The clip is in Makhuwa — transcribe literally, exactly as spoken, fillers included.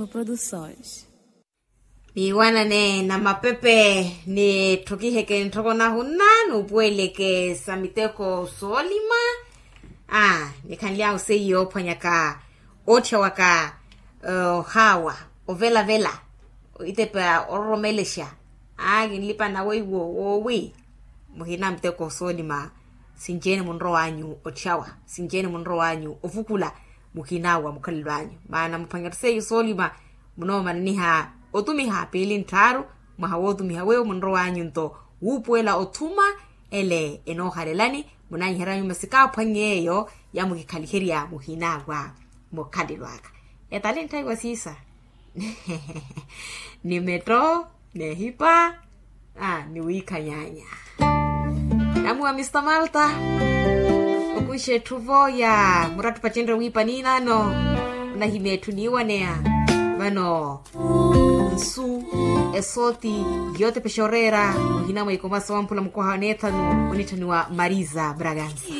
Produções. Niiwanane na mapepe nitthokiheke ntthoko nahunna nuupuweleke sa miteko soolima. Aa, nikhanly'ahu seiyo oophwanyaka ootthya waka, ohaawa, ovelavela, itepa ororomelexa. Aa, kinlipana weiwo woowi muhina miteko soolima. Sinci-ene munrow'anyu otthyawa, sinci-ene munrow'anyu ovukula, muhinawa mukhalelo anyu maana muphwanya-tho seiyo soolima. Munoomananiha otumiha piili ntthaaru, mwaha wootumiha weiwo munrow'anyu nto wuupuwela othuma. Ele enoohalelani, munaanyihery'anyu masika aphwanye eyo yamukikhaliherya muhinawa mukhalelo aka. Etali ntthayi wa siisa ni metto, nehipa, ni wiikhanyaanya. Namuwa mista malta, okuxa etthu-vo ya murattu pacenre wiipa niinano. Onahimya etthu niiwaneya vano nsu esooti yootepexa oreera muhina mwa ikoma sowamphula mukwaha wa neethanu onitthaniwa marisa bragansa.